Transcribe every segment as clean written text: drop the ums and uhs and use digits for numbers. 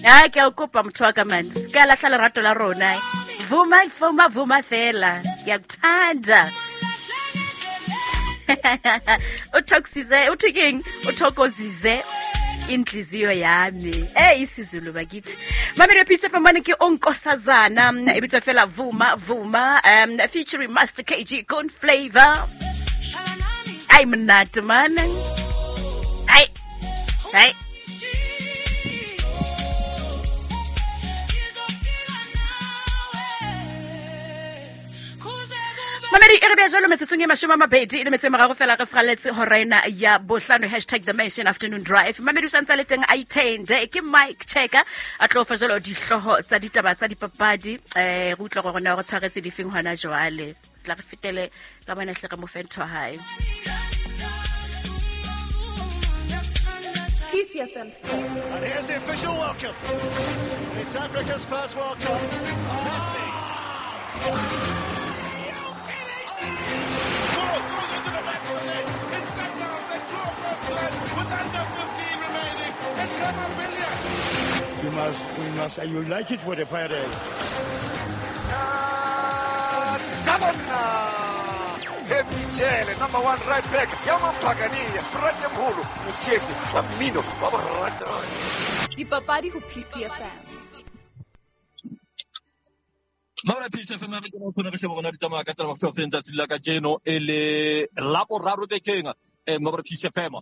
A ke a o kopa motho wa ka mane, se ka lahla lerato la rona. Vuma, vuma, vuma fela. Ngiyakuthanda. Uthokozize, uthi keng? Uthokozize inhliziyo yami. Eh, isiZulu bakithi. Mamelo Peace FM mane ke onkosazana e bitswa fela Vuma Vuma, featuring Master KG Gun Flavor. Ai monate man. Ai. Ai. Mamedi e re bea jalo metsotsong e 20 le metso e meraro fela re fraletse hora ena ya bohlano. Hashtag The Mansion Afternoon Drive. Mamedi o santse a le teng a itende ke Mike Checker a tlo fa jalo dihlooho tsa ditaba tsa dipapadi. Re utlwa gore na re tshwaretse difeng hona jwale. Tla re fetele ka bona hle re mo fe ntho hae. PCFM Sports. And here's the official welcome. It's Africa's first World Cup. Messi. Ball goes into the back of the net. It's Sundowns that draw first blood with under 15 remaining. And Khama Billiat. You must, we must, you like it for the Pirates. Happy number 1 right back. Yamampagania, Fratemholo, Motshetse, wa mmino wa boratani. Dipapadi ho PCFM. Maura PCFM re kena khona re sheba rona di tsamaya ka tsela mafuta feng tsatsi la kajeno e le la boraro bekeng. Maura PCFM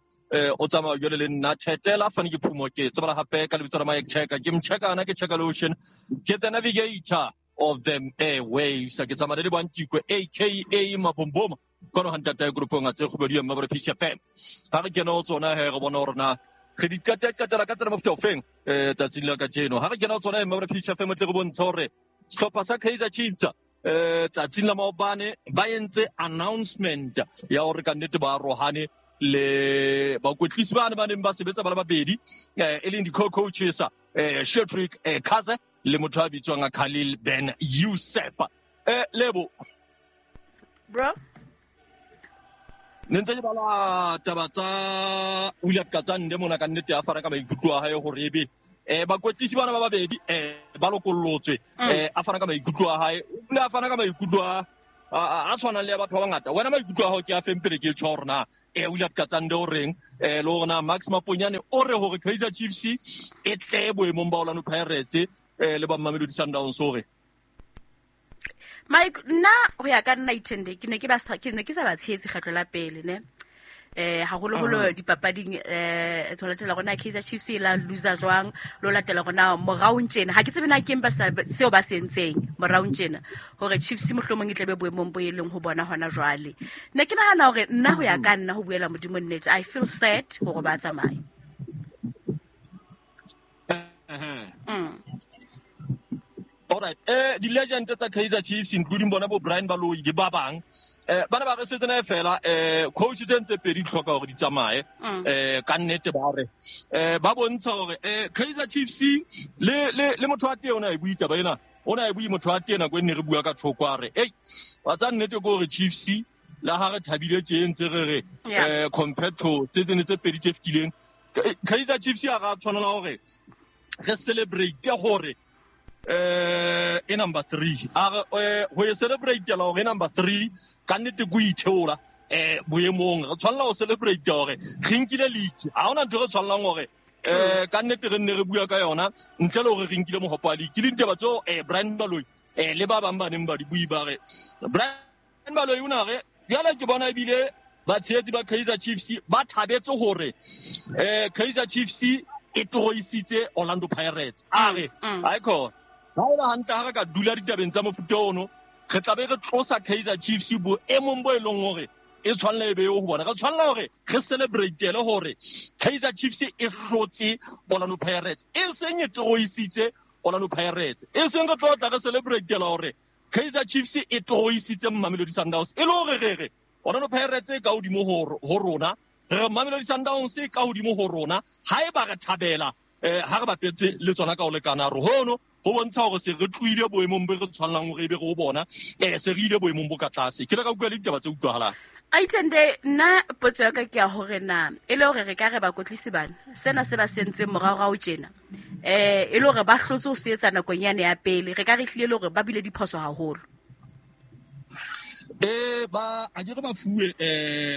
o tsamaya jwale le nna Thetela Fane ke Phumo ke tsebala hape ka lebitso la Mike Checker ke mchekana ke Checker Lotion ke the navigator of them airwaves ke tsamaya le Bantikwe aka Mabomboma kono hantata ya groupong a tse kgobedi ya Maura PCFM. Ha re kena ho tsona he re bona hore na re di qetela ka tsela mafuta ofeng tsatsing la kajeno. Ha re kena ho tsona Maura PCFM tle re bontsha hore sehlopha sa Kaizer Chiefs tsatsing la maobane ba entse announcement ya hore ka nnete ba arohane le bakwetlisi bane ba neng ba sebetsa ba le babedi, e leng di-co-coaches Cedric Kaze le motho a bitswang Khalil Ben Youssef. Lebo bro ne ntse ke bala taba tsa William Katsande mona ka nnete a fana ka maikutlo a hae hore ebe bakwetlisi bana ba babedi ba lokollotswe, a fana ka maikutlo a hae, o bile a fana ka maikutlo a tshwanang le ya batho ba bangata. Wena maikutlo a hao ke a feng pele ke tjho hore na William Katsande o reng, le hore na Max Maponyane o re hore Kaizer Chiefs e tle boemong ba Orlando Pirates le ba Mamelodi Sundowns o re. Mike, nna ho ya ka nna Ithende ke ne ke ba ke ne ke sa ba tshehetse kgetlo la pele ne. Haholoholo dipapading ho latela rona Kaizer Chiefs e la loser jwang, lo latela rona morao tjena. Ha ke tsebe na ke eng ba sa seo ba se entseng morao tjena hore Chiefs mohlomong e tlebe boemong bo e leng ho bona hona jwale. Ne ke nahana hore nna ho ya ka nna ho buela Modimo nnete, I feel sad hore ba tsamaye. All right. Di-legend tsa Kaizer Chiefs including bona bo Brian Baloyi le ba bang, bana ba re setsena fela coach tse ntse pedi di hloka hore di tsamaye. Ka nnete ba re ba bontsha hore Kaizer Chiefs le motho wa teng o na e bui taba ena, o na e bui motho wa teng nako e ne re bua ka thoko a re ei wa tsa nnete ke hore Chiefs la ha re thabile tje ntse re re compared to season tse pedi tse fetileng, Kaizer Chiefs ya ra tshwanela hore re celebrate hore e number 3 a re ho e celebrate la hore number 3 ka nnete go itheola boemong re tshwanela ho celebrate hore re nkile league. Ha hona ntho re tshwanelang hore ka nnete re nne re bua ka yona ntle le hore re nkile mohopo wa league. Le ditaba tseo Brian Baloyi le ba bang ba neng ba di bui ba re Brian Baloyi o na re jwale ke bona ebile batshehetsi ba Kaizer Chiefs ba thabetse hore Kaizer Chiefs e toroisitse Orlando Pirates. A re haikho ha ela hantle ha re ka dula ditabeng tsa mofuta ono re tla be re tlosa Kaizer Chiefs boemong bo e leng hore e tshwanela e be ho bona. Re tshwanela hore re celebrate le hore Kaizer Chiefs e hlotse Orlando Pirates, e seng e toroisitse Orlando Pirates, e seng re tlo tla re celebrate hore Kaizer Chiefs e toroisitse Mamelodi Sundowns, e le hore re re Orlando Pirates e ka hodimo ho rona, re Mamelodi Sundowns e ka hodimo ho rona. Haeba re thabela ha re bapetse le tsona ka ho lekana re hono ho bontsha hore se re tlohile boemong bo re tshwanelang hore ebe re ho bona, se re ile boemong bo ka tlase. Ke le ka utlwa le ditaba tse utlwahalang. Aitende, nna potso ya ka ke ya hore na e le hore re ka re bakotlisi bana sena se ba se entseng moraorao tjena E le hore ba hlotse ho se etsa nakong yane ya pele, re ka re hlile le hore ba bile diphoso haholo. Ba a ke re ba fuwe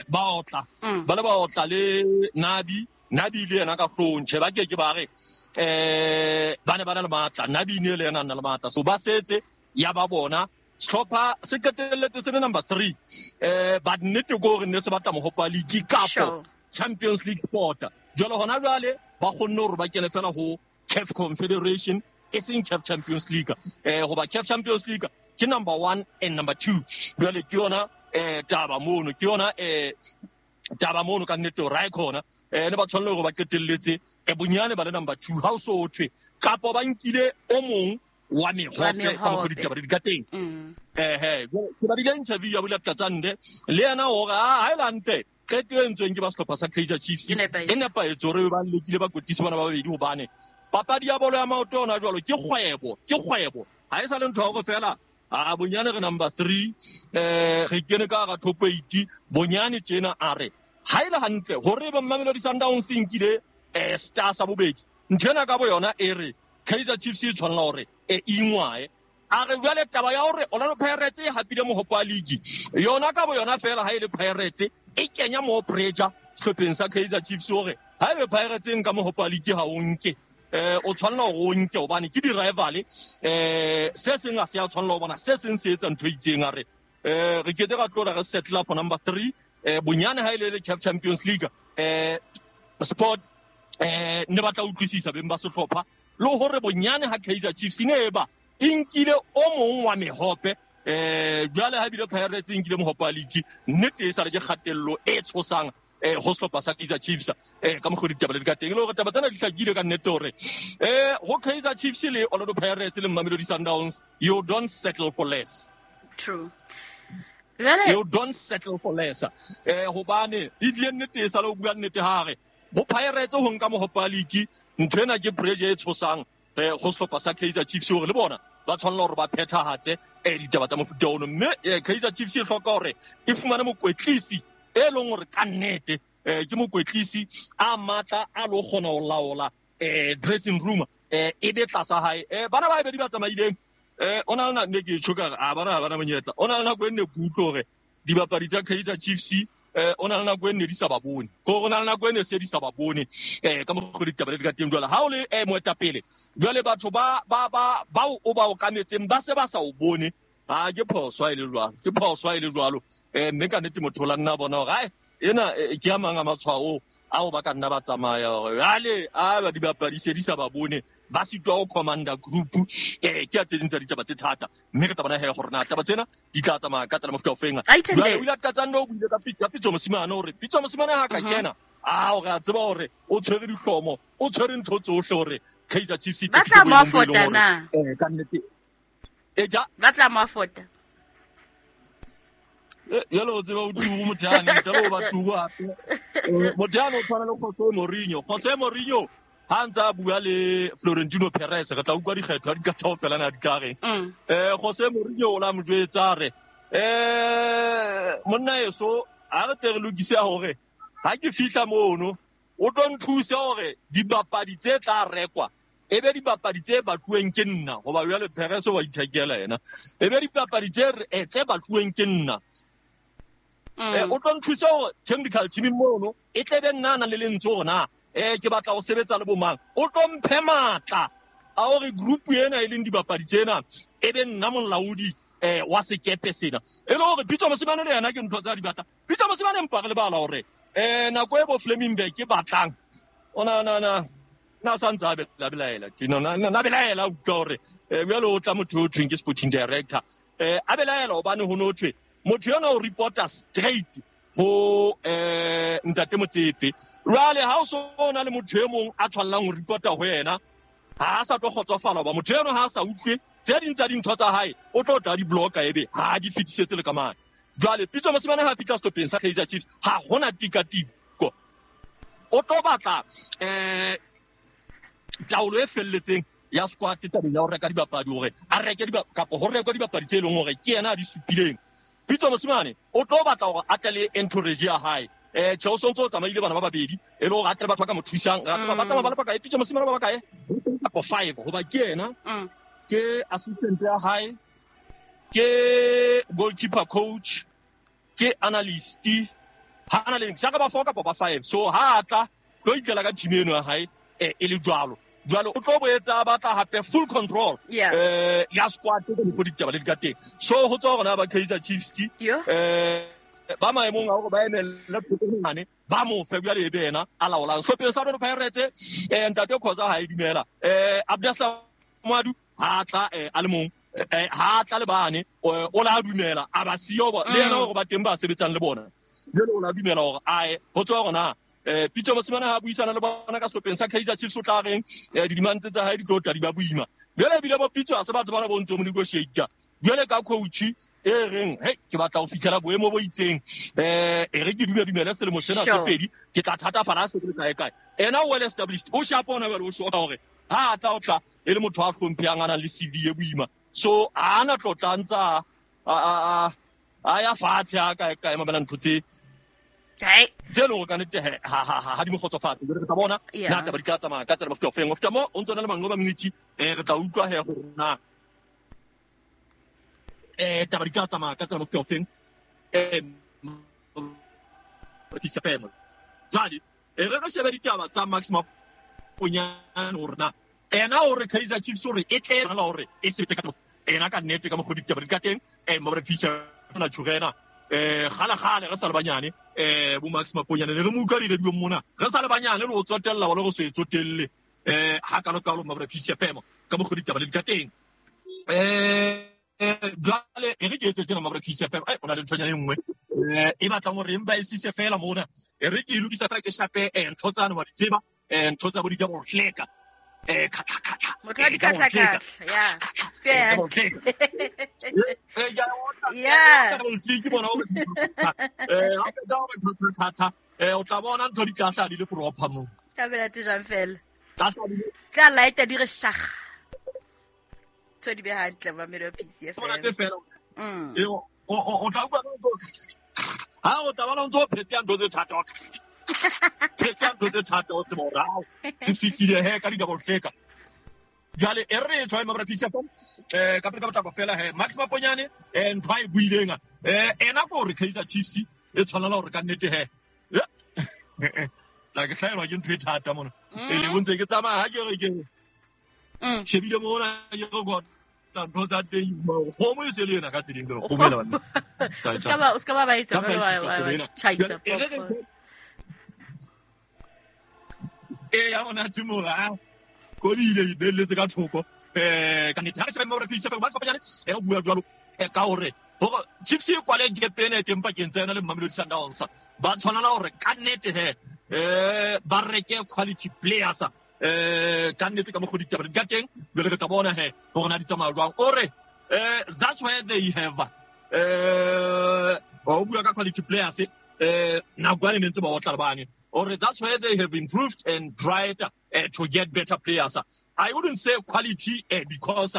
ba otla. Ba le ba otla le Nabi, Nabi le yena ka hloohong, tjhe ba ke ke ba re ba ne ba na le matla, Nabi ne le yena a na le matla. So ba setse ya ba bona sehlopha se qetelletse se le number 3. But nnete ke hore ne se batla mohope wa league kapo Champions League sport. Jwale hona jwale ba kgonne hore ba kene fela ho CAF Confederation, e seng CAF Champions League. Hoba CAF Champions League ke number 1 and number 2. Jwale ke yona taba mono, ke yona taba mono ka nnete hore ha e khona. Ne ba tshwanela hore ba qetelletse bonyane ba le number 2 ha o so thwe kapo ba nkile o mong wa mehope ka mokgwa ditaba di ka teng. Ke badile interview ya Bula Tlatsande le yena hore ha e le hantle qeto e entsweng ke ba sehlopha sa Kaizer Chiefs e nepahetse hore ba lekile bakwetlisi bana ba babedi, hobane papadi ya bolo ya maoto yona jwalo ke kgwebo, ke kgwebo. Ha e sa le ntho ya hore fela a bonyane re number 3 re kene ka hara top 8 bonyane tjena. A re ha e le hantle hore ba Mamelodi Sundowns e nkile star sa bobedi, ntho ena ka bo yona e re Kaizer Chiefs e tshwanela hore e ingwae. A re jwale taba ya hore Orlando Pirates e hapile mohope wa league yona ka bo yona fela ha e le Pirates e kenya mo pressure sehlopheng sa Kaizer Chiefs hore ha ebe Pirates e nka mohope wa league ha o nke o tshwanela hore o nke hobane ke di-rival. Se seng ha se a tshwanela ho bona se seng se etsa ntho e itseng. A re re kete ra tlola re settle for number 3 bonyane ha e le CAF Champions League sport ne batla utlwisisa beng ba sehlopha le hore bonyane ha Kaizer Chiefs ne e ba e nkile o mong wa mehope jwale ha bile Pirates e nkile mohope wa league, nnete e sale ke kgatello e tshosang ho sehlopha sa Kaizer Chiefs ka mokgwa ditaba le ka teng. Le hore taba tsena di hlakile ka nnete hore ho Kaizer Chiefs le Orlando Pirates le Mamelodi Sundowns, you don't settle for less. True. You don't settle for less. Hobane e tlile nnete e sale o bua nnete hare ho Pirates ho nka mohope wa league, ntho ena ke pressure e tshosang ho sehlopha sa Kaizer Chiefs hore le bona ba tshwanela hore ba phethahatse ditaba tsa mofuta ono. Mme Kaizer Chiefs e hloka hore e fumane mokwetlisi e leng hore ka nnete ke mokwetlisi a matla a lo kgona ho laola dressing room e be tlasa hae. Bana ba babedi ba tsamaileng o na le nako ne ke tjho ka re a bana ha bana monyetla. O na le nako e nne ke utlwe hore dibapadi tsa Kaizer Chiefs o na le nako e nne di sa ba bone, ko o na le nako e nne se di sa ba bone ka mokgwa ditaba di ka teng. Jwale ha o le moetapele jwale batho ba ba ba bao o ba okametseng ba se ba sa o bone, ha ke phoso ha e le jwalo, ke phoso ha e le jwalo. Mme ka nnete motho o la nna bona hore ai ena ke a mang a matshwao ao ba ka nna ba tsamaya hore jwale a ba dibapadi se di sa ba bone, ba sitwa ho commander group. Ke a tse ding tsa ditaba tse thata, mme re tla bona he hore na taba tsena di tla tsamaya ka tsela mofuta o feng. Jwale o ile a tlatsang o buile ka Pitso Mosimane hore Pitso Mosimane ha ka kena a hore a tseba hore o tshwere dihlomo, o tshwere ntho tsohle hore Kaizer Chiefs e ba tla mo afota na ka nnete e ja ba tla mo afota. Jwale o tseba o tubu motho yane, ntle le ho ba tubu hape. Motho yane o tshwana le Jose Mourinho. Jose Mourinho ha ntse a bua le Florentino Perez, re tla utlwa dikgetho ha di ka theofela na di ka reng. Jose Mourinho o la mo jwetsa a re monna eso ha re tle re lokise hore ha ke fihla mono o tlo nthusa hore dibapadi tse tla rekwa e be dibapadi tse batluweng ke nna, hoba jwale Perez wa ithekela yena, e be dibapadi tse batluweng ke nna. O tlo nthusa hore technical team mono e tle be nna a nang le lentswe hore na ke batla ho sebetsa le bomang. O tlo mphe matla a hore group ena e leng dibapadi tsena e be nna molaodi wa sekepe sena. E le hore Pitso Mosimane le yena ke ntho tsa di batla. Pitso Mosimane empa re lebala hore nako e bo Flemingberg ke batlang o na na na na sa ntse a belaela tjena, na belaela utlwa hore jwale o tla motho o thweng ke sporting director a belaela hobane ho no thwe motho yona o reporter straight ho ntate Motsepe. Jwale ha o so na le motho e mong a tshwallang ho reporta ho yena, ha a sa tlo kgotsofala hoba motho eno ha a sa utlwe tse ding tsa dintho tsa hae, o tlo tla di blocka ebe ha di fetisetse le ka mane. Jwale Pitso Mosimane ha fihla sehlopheng sa Kaizer Chiefs ha hona tikatiko, o tlo batla taolo e felletseng ya squad tabeng ya ho reka dibapadi, hore a reke kapa ho rekwa dibapadi tse leng hore ke yena a di supileng. Pitso Mosimane o tlo batla hore a tle le entourage ya hae. Tjhe, o sontso o tsamaile bana ba babedi e le hore a tle batho ba ka mo thusang. Ra tseba ba tsamaya ba le bakae, Pitso Mosimane ba bakae? Kapo 5 hoba ke yena, ke assistant ya hae, ke goalkeeper coach, ke analyst, ha ana le saka ba 4 kapa ba 5. So ha a tla tlo itlela ka team eno ya hae e le jwalo. Jwalo o tlo boetsa batla hape full control ya squad ka mokgwa ditaba le di ka teng. So ho tswa hore na ba Kaizer Chiefs ba maemong a hore ba emelle thokonyane ba mo fe jwale ebe yena a laolang. Sehlopheng sa Orlando Pirates ntate Khoza ha e dumela. Abdeslam Moadu ha tla a le mong, ha tla le bane o la dumela a ba siyo le yena hore ba teng ba sebetsang le bona. Jwale o la dumela hore ae ho tswa hore na Pitso Mosimane ha buisana le bona ka sehlopheng sa Kaizer Chiefs o tla reng didimantse tsa hae di tlo tla di ba boima. Jwale ebile bo Pitso ha se batho bana bo ntso mo negotiate. Jwale ka coach e reng hey ke batla ho fihlela boemo bo itseng e re ke dumele selemo sena tse pedi ke tla thatafala se le kae kae. Ena well established o shapo ona jwale o shoka hore ha tla o tla e le motho a hlomphehang a nang le CV e boima. So ha ana tlotla ntsa a ya fatshe a kae kae mamela ntho tse tse leng hore ka nnete ha di mo kgotsofatse. Jwale re tla bona na taba di tla tsamaya ka tsela mofuta ofeng. Ho feta moo o ntso na le Manqoba Mngqithi re tla utlwa he hore na taba di tla tsamaya ka tsela mofuta ofeng. Jwale re shebe ditaba tsa Max Maponyane hore na ena hore Kaizer Chiefs hore e tle la hore e sebetse ka ena ka nnete ka mokgwa ditaba di ka teng. Mabra Fisher na tshurena kgale kgale re sa le banyane bo Max Maponyane ne re mo utlwa di-radio mona re sa le banyane le ho tsotella wala re se tsotelle ha kalo kalo Mabra Fisher FM ka mokgwa ditaba le di ka teng. Jwale e re ke etse tjena Mabra Fisher FM o na le nthonyana e nngwe e batlang hore empa e sise fela mona e re ke e lokisa fela ke shape ntho tsane wa di tseba ntho tsa bo di double click khatla khatla motho a di khatla khatla ya ya ke bona ha o tla bona ntho di tla di le proper mo tabela tse jang fela tla light di re shag tso di be hantle ba melo PCFM o tla utlwa ha o tla bona ntso phetla ntho tse thata phetla ntho tse thata o tseba hore ao ke fihlile he ka di-double click. Jwale e re tshwae Mabra Fisher ka pele ka potlako fela he Max Maponyane ntho a e buileng ena ko hore Kaizer Chiefs e tshwanela hore ka nnete he tla ke hlaelwa ke ntho e thata mona e le ntse ke tsamaya ha ke re ke shebile mona ke re go ntho tsa teng kgomo e se le ena ka tseleng ke re kgomo ela banna o ska ba etsa ba chaisa ya bona timora ko ile e belletse ka thoko ka nnete ha re shebe Mabra Fisher Max Maponyane o bua jwalo ka hore hore Chiefs e kwale gap ena e teng pakeng tsa yona le Mamelodi Sundowns ba tshwanela hore ka nnete he ba reke quality players ka nnete ka mokgwa ditaba di ka teng. Jwale re tla bona he hore na di tsamaya jwang. O re that's where they have o bua ka quality players nako ane ne ntse ba otla le bane. Or that's where they have improved and tried to get better players. I wouldn't say quality because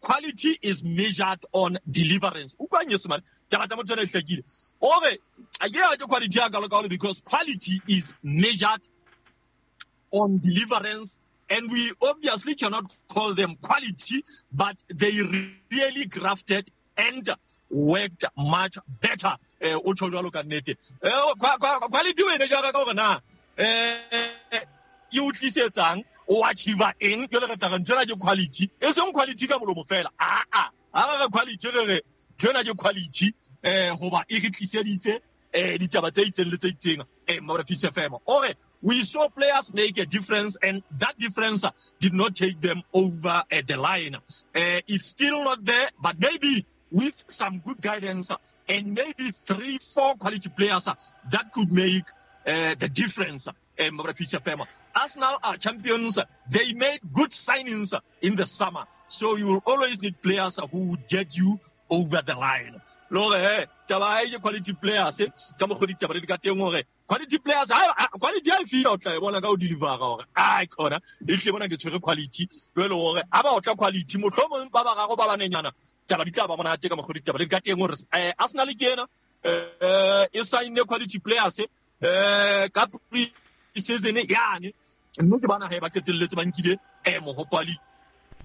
quality is measured on deliverance. Utlwa nyesemane taba tsa motho ena e hlakile. O re a ke ya ke quality ya kalo because quality is measured on deliverance, and we obviously cannot call them quality, but they really grafted and worked much better. O tjho jwalo ka nnete. Quality wena jara ka hore na e o tlisetsang o achieve eng jwale re tla re ntho ena ke quality e seng quality ka molomo fela. A a re quality re re ntho ena ke quality hoba e re tliseditse ditaba tse itseng le tse itseng. Mabra Fisher FM o re we saw players make a difference, and that difference did not take them over the line. It's still not there, but maybe with some good guidance and maybe 3-4 quality players that could make the difference. Arsenal are champions. They made good signings in the summer. So you will always need players who would get you over the line. Lore, taba e quality players, ka mokgwa ditaba di ka teng hore quality players, quality ha e fihla o tla e bona ka o deliver hore ai khona e hle bona ke tshwere quality. Jwale hore a ba otla quality mohlomong ba bararo ba banenyana taba di tla ba monate ka mokgwa ditaba di ka teng hore Arsenal ke ena E sign quality players ka pre-season yane mme ke bana ha ba qetelletse ba nkile mohopali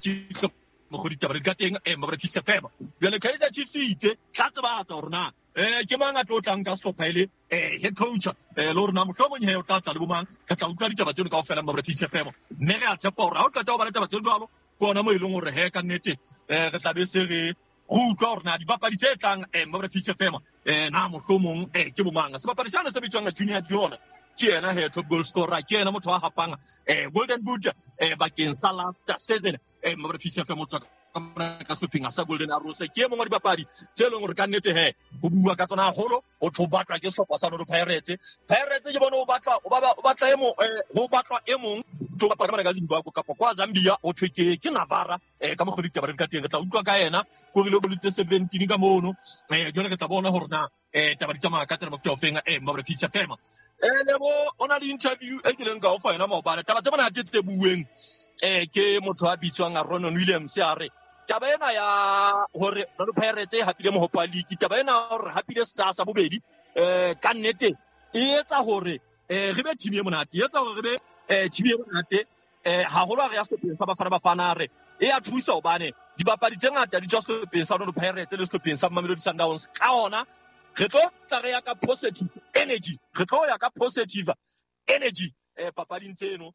ke mogodi taba ka teng mabra Chiefs FM. Jwale Kaizer Chiefs itse tla tsebatsa hore na ke mang a tlo tlang ka sehlopha ele head coach le hore na mohlomong he o tla tla le bomang. Re tla utlwa ditaba tseno kaofela mabra Chiefs FM, mme re a tshepa hore ha o qeta ho bala taba tseno jwalo ke ona mo e leng hore he ka nnete re tla be se re utlwa hore na dibapadi tse tlang mabra Chiefs FM na mohlomong ke bomang. Sebapadi sena se bitswang Junior Diona ke yena he top goal scorer, ke yena motho wa hapang Golden Boot bakeng sa last season mabra Chiefs FM o tswa ka sehlopheng sa Golden Arrows. Ke e mongwe wa dibapadi tse leng hore ka nnete he ho bua ka tsona haholo, ho tho batlwa ke sehlopha sa Orlando Pirates. Pirates ke bone ho batlwa o batla e mong ho batlwa e mong to bapala ka Zimbabwe kapa kwa Zambia ho thwe ke Navara ka mokgwa ditaba re ka teng. Re tla utlwa ka yena ko rile go lutse 17 ka mono jwale re tla bona hore na taba di tsamaya ka tsela mofuta ofeng mabra Chiefs FM. Lebo o na le interview e kileng ka o fa yona maobane. Taba tse monate tse bueng ke motho a bitswang Ronan Williams a re taba ena ya hore Orlando Pirates e hapile mohopa league, taba ena hore hapile Stars sa bobedi ka nnete e etsa hore re be team e monate, e etsa hore re be team e monate haholo ha re ya sehlopheng sa Bafana Bafana. Re e a thusa hobane dibapadi tse ngata di tswa sehlopheng sa Orlando Pirates le sehlopheng sa Mamelodi Sundowns. Ka hona re tlo tla re ya ka positive energy, re tlo ya ka positive energy papading tseno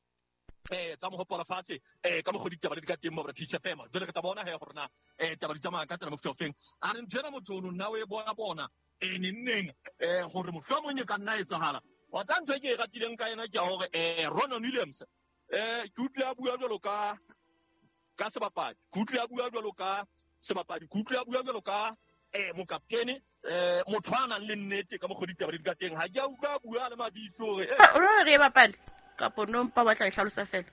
tsa mohopa lefatshe ka mokgwa ditaba di ka teng mabra Chiefs FM. Jwale re tla bona he hore na taba di tsamaya ka tsela mofuta ofeng. A re ntho ena motho ono nna o e bona neng hore mohlomong e ka nna etsahala. Wa tsa ntho e ke e ratileng ka yena ke ya hore Ronan Williams ke utlwe a bua jwalo ka sebapadi, ke utlwe a bua jwalo ka sebapadi, ke utlwe a bua jwalo ka mokaptene motho a nang le nnete ka mokgwa ditaba di ka teng. Ha ke a utlwa a bua le mabifi hore o re e bapale kapo no mpa batla e hlalosa fela.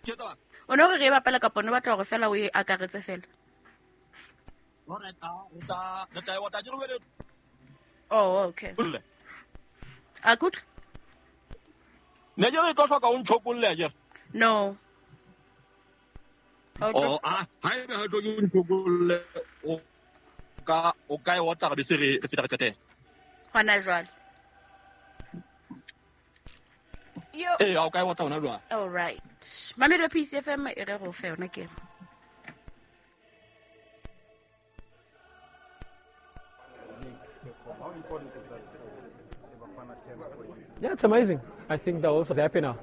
Ke tswa o no re bapala kapo no batla hore fela o e akaretse fela. Hore ta re tla e wata ke re. Oh okay. A kutlwa ne ke re tlo hloka o ntshokolle akere? No. Oh ah ha ebe ha tlo ke o ntshokolle o ka e otla re be se re feta re qetela hona jwale. A o ka e otla hona jwale. All right. Mamelodi PCFM e re go fe yona ke. Yeah, it's amazing. I think they're also happy now.